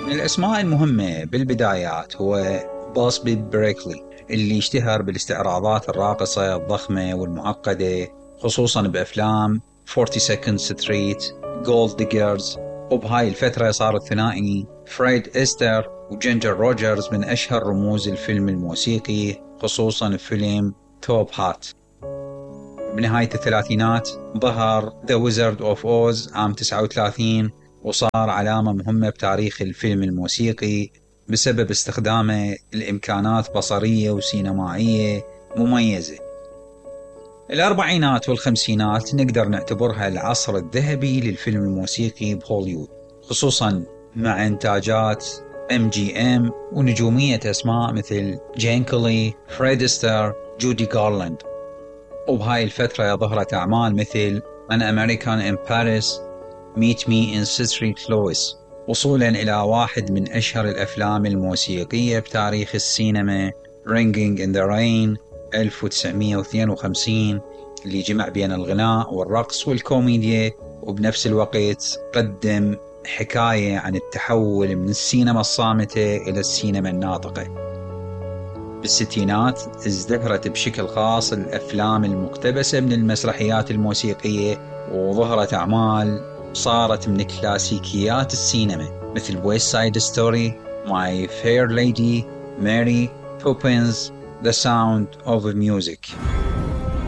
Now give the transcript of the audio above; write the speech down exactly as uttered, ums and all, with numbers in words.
من الأسماء المهمة بالبدايات هو باسبي بريكلي، اللي اشتهر بالاستعراضات الراقصة الضخمة والمعقدة، خصوصا بأفلام فورتي سكند ستريت، جولد ديجرز. وبهاي الفترة صار الثنائي فريد إستر وجينجر روجرز من أشهر رموز الفيلم الموسيقي، خصوصا بفيلم توب هات. بنهاية الثلاثينات ظهر The Wizard of Oz عام تسعة وثلاثين، وصار علامة مهمة بتاريخ الفيلم الموسيقي بسبب استخدامه الإمكانات بصرية وسينمائية مميزة. الأربعينات والخمسينات نقدر نعتبرها العصر الذهبي للفيلم الموسيقي بهوليوود، خصوصا مع إنتاجات إم جي إم ونجومية أسماء مثل جين كولي، فريد إستر، جودي غارلاند. وبهاي الفترة ظهرت أعمال مثل An American in Paris، Meet Me in Street Louis، وصولا إلى واحد من أشهر الأفلام الموسيقية بتاريخ السينما Ringing in the Rain ألف وتسعمية واثنين وخمسين، اللي جمع بين الغناء والرقص والكوميديا، وبنفس الوقت قدم حكاية عن التحول من السينما الصامتة إلى السينما الناطقة. بالستينات ازدهرت بشكل خاص الأفلام المقتبسة من المسرحيات الموسيقية، وظهرت أعمال صارت من كلاسيكيات السينما مثل West Side Story، My Fair Lady، Mary Poppins، The Sound of Music.